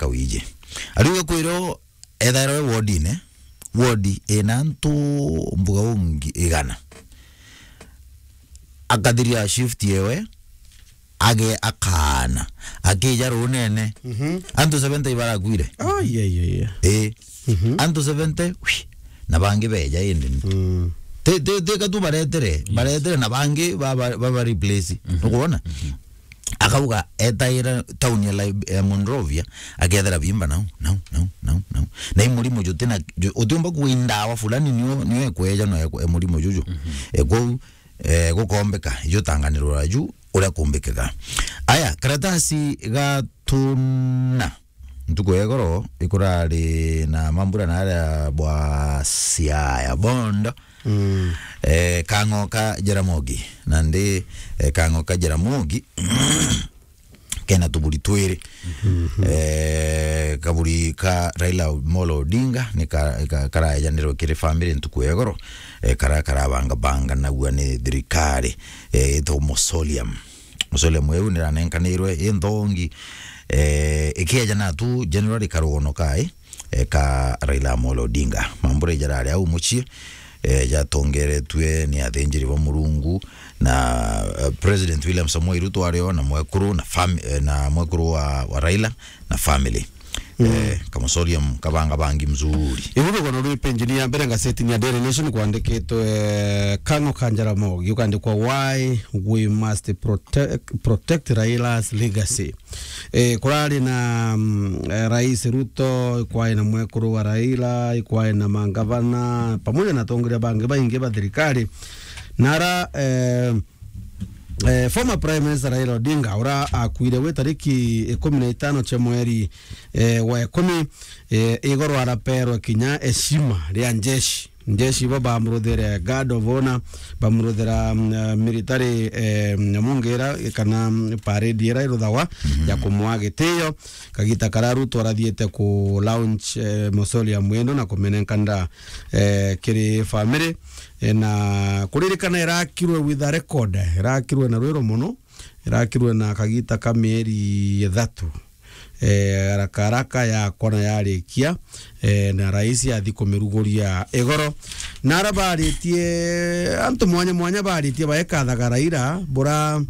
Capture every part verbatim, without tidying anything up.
nkawiji. Ariuga kwiro ethairwa e wodine, wodi ina antu mbuga ungi igana. Akathiria shift yewe, age akaana, akija runene. Mhm. Antu seventy ibarakuire. Oh, yeah, yeah, yeah. Eh. Mhm. Antu seventy, whi, na bangi beja indi. Mm. Te, te, te katu baretere, yes, baretere na bangi ba, ba, ba, ba replace. Mhm. Nukwona? Mhm. Akauga etaira town ya Lib-, ya Monrovia, akethera bimba nau, nau, nau, nau, nau. Na i murimo juti na, ju-, utiumba kuindawa fulani nio, nio ekweja no ekwe-, murimo juju. Mhm. E kwou, eh, gukombeka, ijutanganirwa ju uria kumbikaga. Aya, karatasi gatuna. Ntuku ya igoro ikurari na mambura na aria bwa Siaya Bondo. Mm. Eh, Kang'o ka Jaramogi. Nandi, eh, Kang'o ka Jaramogi kena tuburi twiri. Mhm. Eh, kaburi ka Raila Amolo Odinga ni ka, ka, karaejanirwe kiri family ntuku ya igoro, eh, kara karabanga banga naua ni thirikari, eh, ito mausoleum. Mausoleum iu niranenkanirwe i nthongi, eh, ikieja natu January karugono kai, eh, ka Raila Amolo Odinga. Mambura ijarari au mucii, eh, jatongeretue ni athinjiri ba Murungu na, eh, President William Samoei Ruto ario na mwekuru na fam-, eh, na mwekuru wa, wa Raila na family. Mm. Eh, ka mausoleum kabanga bangi mzuri. Ibu rugono rwi page-ini ya mbere ngazetini ya Daily Nation kwandikitwe, eh, Kang'o ka Jaramogi, ukandikwa, "Why we must protect, protect Raila's legacy." Eh, kurari na, mm, eh, Rais Ruto, ikwari na mwekuru wa Raila, ikwari na mangavana, pamoja na atongoria bangi baingi ba thirikari. Nara, eh, eh, former Prime Minister Raila Odinga, ura akuire wi tariki ikumi na itano cia mweri, eh, wa ikumi, eh, igoro araperwe kinya heshima ria njeshi. Njeshi bo bamuruthire guard of honor, bamuruthira, mm, eh, military, eh, nyamu ngira kana, mm, parade ira iruthagwa, mhm, ya kumwa gitio. Kagita karia Ruto arathiite ku launch, eh, mausoleum ino na kumenenkanira, eh, kiri family. Eh, na kuririkana irakirwe with a record, irakirwe na rwiro mono, irakirwe na kagita ka mieri ithatu. Eh, haraka haraka yakwa na yarikia, eh, na rais athi kumiruguria igoro. Na ara baritie, antu mwanya mwanya baritie baekathaga Raila, bura,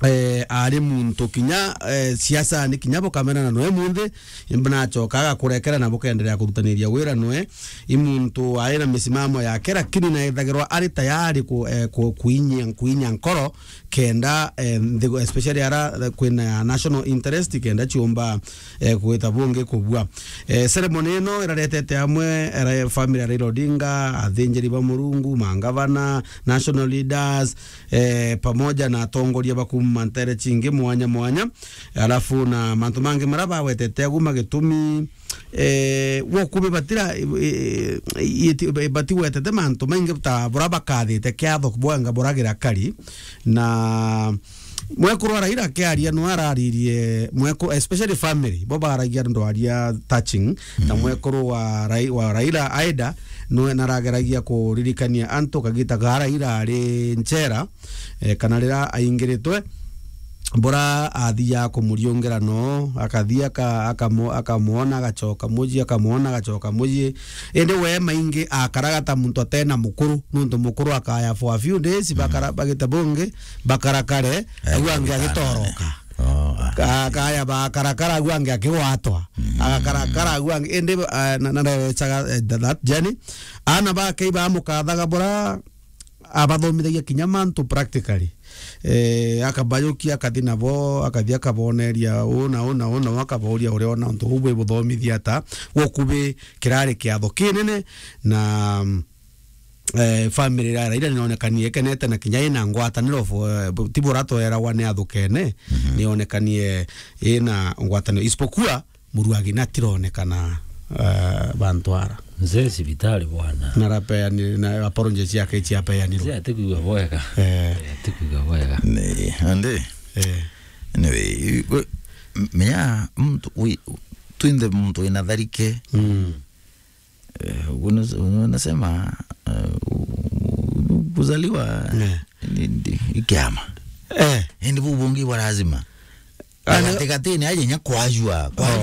eh, ari muntu kinya, eh, siasa ni kinya bukamena na noe munthi, nachoka agakurekera na bukenderea kurutaniria wira noe. I muntu ari na misimamo yake, lakini na ethagirwa ari tayari ku, eh, ku, kuinyia, kuinyia nkoro, kenda, eh, nthi-, especially ara, eh, kwina national interest, kenda ciumba, eh, gwita bungi kubua. Eh, ceremony ino iraretete amwe, eh, family ya Raila Odinga, athinjiri ba Murungu, mangavana, national leaders, eh, pamoja na atongoria ba kuma ntere cingi mwanya mwanya. Alafu na mantu mangi mara bawetete aguma gitumi, eh, gwa kubi batira, eh, eh, bati wetete mantu maingi ta bura bakathite kiatho bwenga buragira kari. Na mwekuru wa Raila akiaria no araririe mweku-, especially family, bo baragia ndwaria touching, na, mhm, mwekuru wa Rai-, wa Raila aida no narageragia kuririkania antu kagita ga Raila ari nchera, eh, kana rira aingiritwe, bura athiaga kumuriungira no, akathia aka-, akamu-, akamwona, agacoka mucii, akamwona, agacoka mucii. Indi we maingi akaraga ta muntu atena mukuru, nuntu mukuru akaya for a few days, bakara-, bagita bungi, bakarakare, eh, au angi agitoroka. Oh, ah. Ka-, akaya bakarakara, au angi akigwatwa. Mm. Agakarakara, au angi, indi, ah, na, na, na, eh, that journey. Ana bake ibamukathaga bura, abathomithagia kinya mantu practically. Eh, akabayukia, akathi nabo, akathi akaboneria uu na uu na uu na uu, akabauria uria ona untu buu bwibuthomithia ata. Gwoku bi kirari kiatho kinene na, eh, family ya Raila nionekanie ikenete na kinya ina ngwataniro fo-, eh, ti bura tweragwa ni athukene, mhm, nionekanie ina ngwataniro. Isipokuwa Muruagi natironekana, eh, bantu ara. Mzee cibitari bwana. Narapeani-, na apologies ciake ciapeanirwe. Mzee atikwigua bwega. Eh. Eh, atikwigua bwega. Ni, andi? Eh. Anyway, we, m-, menya mtu, we, twinde mtu ina tharike. Mm. Eh, unas-, unasema, eh, u-, u-, kuzaliwa, eh, ni, ni, ni kiama. Eh. Indi bu bungi bwa lazima. Ah, na gatigati-ini aje nya kwajua, kwajua.